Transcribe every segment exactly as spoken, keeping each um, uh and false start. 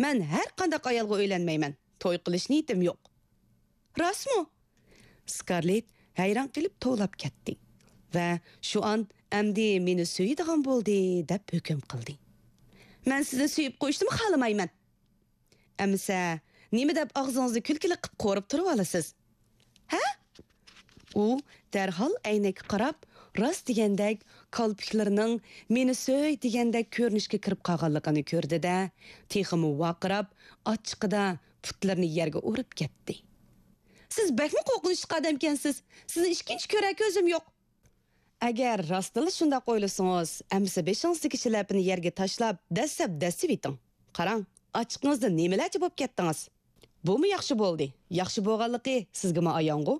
مەن ھەر قانداق ئايالغا ئۆيلەنمەيمەن. توي قىلىش نىيىتىم يوق. راستمۇ؟ سكارلېت ھەيران قېلىپ توۋلاپ كەتتى ۋە شۇ ئان ئەمدى مېنى سۆيىدىغان بولدى دەپ ھۆكۈم قىلدى. مەن سىزنى سۆيۈپ قويۇشنىمۇ خالىمايمەن. ئەمىسە، نېمە دەپ ئاغزىڭىزنى كۈلكىلىك قىپ قورۇپ تۇرۇۋالىسىز؟ ھە؟ ئۇ دەرھال ئەينەككە قاراپ، راست دېگەندەك كالپۇكلىرىنىڭ مېنى سۆي دېگەندەك كۆرۈنۈشكە كىرىپ قالغانلىقىنى كۆردى-دە، تېخىمۇ ۋارقىراپ، ئاچچىقىدا پۇتلىرىنى يەرگە ئۇرۇپ كەتتى. سىز بەكمۇ قورقۇنچلۇق ئادەمكەنسىز. سىزنى ئىككىنچى كۆرەر كۆزۈم يوق. ئەگەر راستتىنلا شۇنداق ئويلىسىڭىز، ئەمىسە بېشىڭىزدىكى شىلەپىنى يەرگە تاشلاپ، دەسسەپ دەسسىۋېتىڭ. قاراڭ، ئاچچىقىڭىزدىن نېمىلەرچە بولۇپ كەتتىڭىز. بۇمۇ ياخشى بولدى. ياخشى بولغانلىقى سىزگىمۇ ئايانغۇ.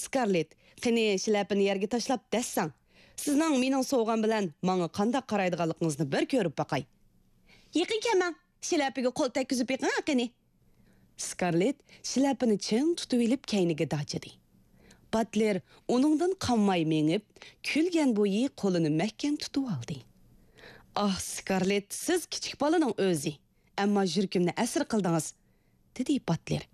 سكارلېت، قېنى، شىلەپىنى يەرگە تاشلاپ دەسسەڭ. سىزنىڭ مېنىڭ سوۋغام بىلەن ماڭا قانداق قارايدىغانلىقىڭىزنى بىر كۆرۈپ باقاي. يېقىن كەلمەڭ، شىلەپىگە قول تەگكۈزۈپ بېقىڭ قېنى. سكارلېت شىلەپىنى چىڭ تۇتۇۋېلىپ كەينىگە داجىدى. باتلېر ئۇنىڭدىن قانماي مېڭىپ، كۈلگەن بويى قولىنى مەھكەم تۇتۇۋالدى. ئاھ، سكارلېت، سىز كىچىك بالىنىڭ ئۆزى، ئەمما يۈرىكىمنى ئەسىر قىلدىڭىز، دېدى باتلېر.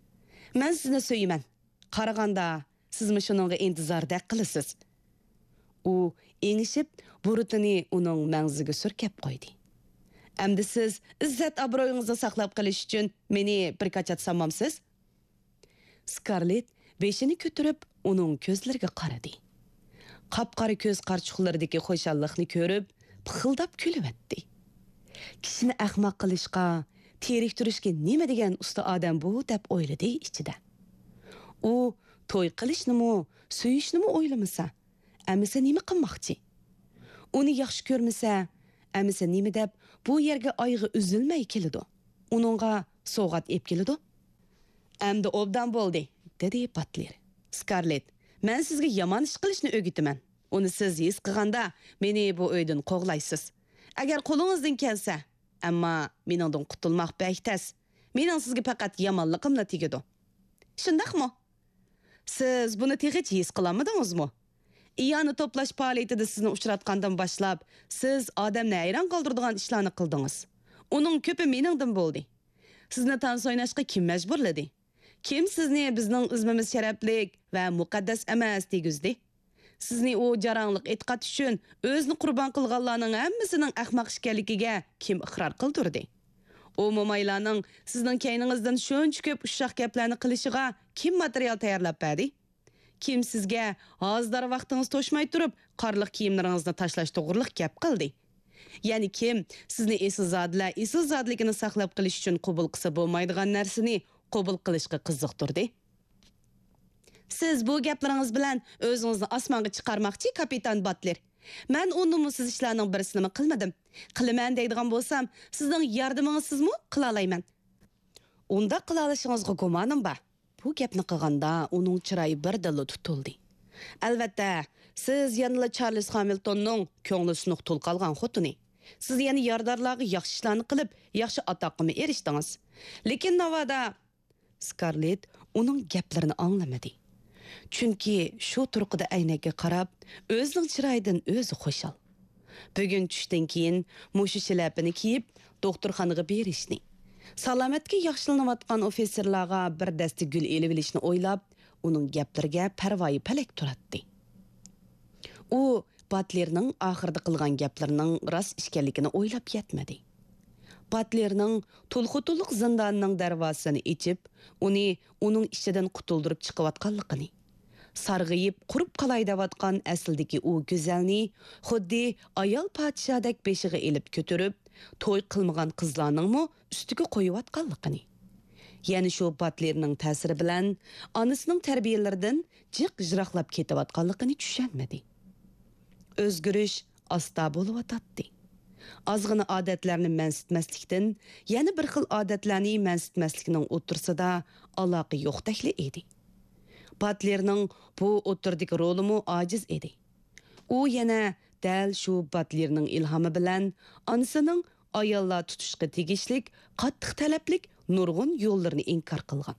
مەن سىزنى سۆيىمەن. قارىغاندا، سىزمۇ شۇنىڭغا ئىنتىزاردەك قىلىسىز. ئۇ ئېڭىشىپ، بۇرۇتىنى ئۇنىڭ مەڭزىگە سۈركەپ قويدى. ئەمدى سىز ئىززەت-ئابرۇيىڭىزنى ساقلاپ قېلىش ئۈچۈن مېنى بىر كاچات سالمامسىز؟ سكارلېت بېشىنى كۆتۈرۈپ، ئۇنىڭ كۆزلىرىگە قارىدى. قاپقارا كۆز قارىچۇقلىرىدىكى خۇشاللىقنى كۆرۈپ، پىخىلداپ كۈلۈۋەتتى. كىشىنى ئەخمەق قىلىشقا، تېرىكتۈرۈشكە نېمە دېگەن ئۇستا ئادەم بۇ، دەپ ئويلىدى ئىچىدە. ئۇ توي قىلىشنىمۇ، سۆيۈشنىمۇ ئويلىمىسا، ئەمىسە نېمە قىلماقچى؟ ئۇنى ياخشى كۆرمىسە، ئەمىسە نېمە دەپ بۇ يەرگە ئايىغى ئۈزۈلمەي كېلىدۇ؟ ئۇنىڭغا سوۋغات ئېلىپ كېلىدۇ؟ ئەمدى ئوبدان بولدى، دېدى باتلېر. سكارلېت، مەن سىزگە يامان ئىش قىلىشنى ئۆگىتىمەن. ئۇنى سىز ھېس قىلغاندا، مېنى بۇ ئۆيدىن قوغلايسىز. ئەگەر قولىڭىزدىن كەلسە، ئەمما مېنىڭدىن قۇتۇلماق بەك تەس. مېنىڭ سىزگە پەقەت يامانلىقىملا تېگىدۇ. شۇنداقمۇ؟ سىز بۇنى تېخىچە ھېس قىلالمىدىڭىزمۇ؟ ئىئانە توپلاش پائالىيىتىدە سىزنى ئۇچراتقاندىن باشلاپ، سىز ئادەمنى ھەيران قالدۇرىدىغان ئىشلارنى قىلدىڭىز. ئۇنىڭ كۆپى مېنىڭدىن بولدى. سىزنى تانسا ئويناشقا كىم مەجبۇرلىدى؟ كىم سىزنى بىزنىڭ ئىزمىمىز شەرەپلىك ۋە مۇقەددەس ئەمەس دېگۈزدى؟ سىزنى ئۇ جاراڭلىق ئېتىقاد ئۈچۈن ئۆزىنى قۇربان قىلغانلارنىڭ ھەممىسىنىڭ ئەخمەق ئىكەنلىكىگە كىم ئىقرار قىلدۇردى؟ ئۇ مومايلارنىڭ سىزنىڭ كەينىڭىزدىن شۇنچە كۆپ ئۇششاق گەپلەرنى قىلىشىغا كىم ماتېرىيال تەييارلاپ بەردى؟ كىم سىزگە ھازىدار ۋاقتىڭىز توشماي تۇرۇپ، قارلىق كىيىملىرىڭىزنى تاشلاش توغرىلىق گەپ قىلدى؟ يەنى كىم سىزنى ئېسىلزادىلەر ئېسىلزادىلىكىنى ساقلاپ قېلىش ئۈچۈن قوبۇل قىلسا بولمايدىغان نەرسىنى قوبۇل قىلىشقا قىزىقتۇردى؟ سىز بۇ گەپلىرىڭىز بىلەن ئۆزىڭىزنى ئاسمانغا چىقارماقچى، كاپىتان باتلېر. مەن ئۇ نومۇسسىز ئىشلارنىڭ بىرسىنىمۇ قىلمىدىم. قىلىمەن دەيدىغان بولسام، سىزنىڭ ياردىمىڭىزسىزمۇ قىلالايمەن. ئۇنداق قىلالىشىڭىزغا گۇمانىم بار. بۇ گەپنى قىلغاندا ئۇنىڭ چىرايى بىردىنلا تۇتۇلدى. ئەلۋەتتە، سىز يەنىلا چارلىز خامىلتوننىڭ كۆڭلى سۇنۇق تۇل قالغان خوتۇنى. سىز يەنە يارىدارلارغا ياخشى ئىشلارنى قىلىپ، ياخشى ئاتاققىمۇ ئېرىشتىڭىز. لېكىن ناۋادا، سكارلېت ئۇنىڭ گەپلىرىنى ئاڭلىمىدى. چۈنكى شۇ تۇرقىدا ئەينەككە قاراپ، ئۆزىنىڭ چىرايىدىن ئۆزى خۇشال. بۈگۈن چۈشتىن كېيىن مۇشۇ شىلەپىنى كىيىپ، دوختۇرخانىغا بېرىشنى، سالامەتلىكى ياخشىلىنىۋاتقان ئوفىتسېرلارغا بىر دەستە گۈل ئېلىۋېلىشنى ئويلاپ، ئۇنىڭ گەپلىرىگە پەرۋايى پەلەك تۇراتتى. ئۇ باتلېرنىڭ ئاخىرىدا قىلغان گەپلىرىنىڭ راست ئىكەنلىكىنى ئويلاپ يەتمىدى. باتلېرنىڭ تۇلخۇتۇلۇق زىندانىنىڭ دەرۋازىسىنى ئېچىپ، ئۇنى ئۇنىڭ ئىچىدىن قۇتۇلدۇرۇپ چىقىۋاتقانلىقىنى، سارغىيىپ، قۇرۇپ قالاي دەۋاتقان ئەسلىدىكى ئۇ گۈزەلنى خۇددى ئايال پادىشاھدەك بېشىغا ئېلىپ كۆتۈرۈپ، توي قىلمىغان قىزلارنىڭمۇ ئۈستىگە قويۇۋاتقانلىقىنى، يەنە شۇ باتلېرنىڭ تەسىرى بىلەن ئانىسىنىڭ تەربىيەلىرىدىن جىق يىراقلاپ كېتىۋاتقانلىقىنى چۈشەنمىدى. ئۆزگىرىش ئاستا بولۇۋاتاتتى. ئازغىنە ئادەتلەرنى مەنسىتمەسلىكتىن، يەنە بىر خىل ئادەتلەرنى مەنسىتمەسلىكنىڭ ئوتتۇرىسىدا ئالاقە يوقتەكلا ئىدى. باتلېرنىڭ بۇ ئوتتۇرىدىكى رولىمۇ ئاجىز ئىدى. ئۇ يەنە دەل شۇ باتلېرنىڭ ئىلھامى بىلەن ئانىسىنىڭ ئاياللار تۇتۇشقا تېگىشلىك قاتتىق تەلەپلىك نۇرغۇن يوللىرىنى ئىنكار قىلغان.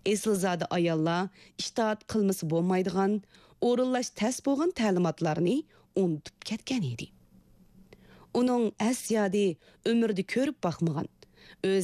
ئېسىلزادە ئاياللار ئىتائەت قىلمىسا بولمايدىغان، ئورۇنلاش تەس بولغان تەلىماتلارنى ئۇنتۇپ كەتكەن ئىدى. ئۇنىڭ ئەس-يادى ئۆمرىدە كۆرۈپ باقمىغان، ئۆز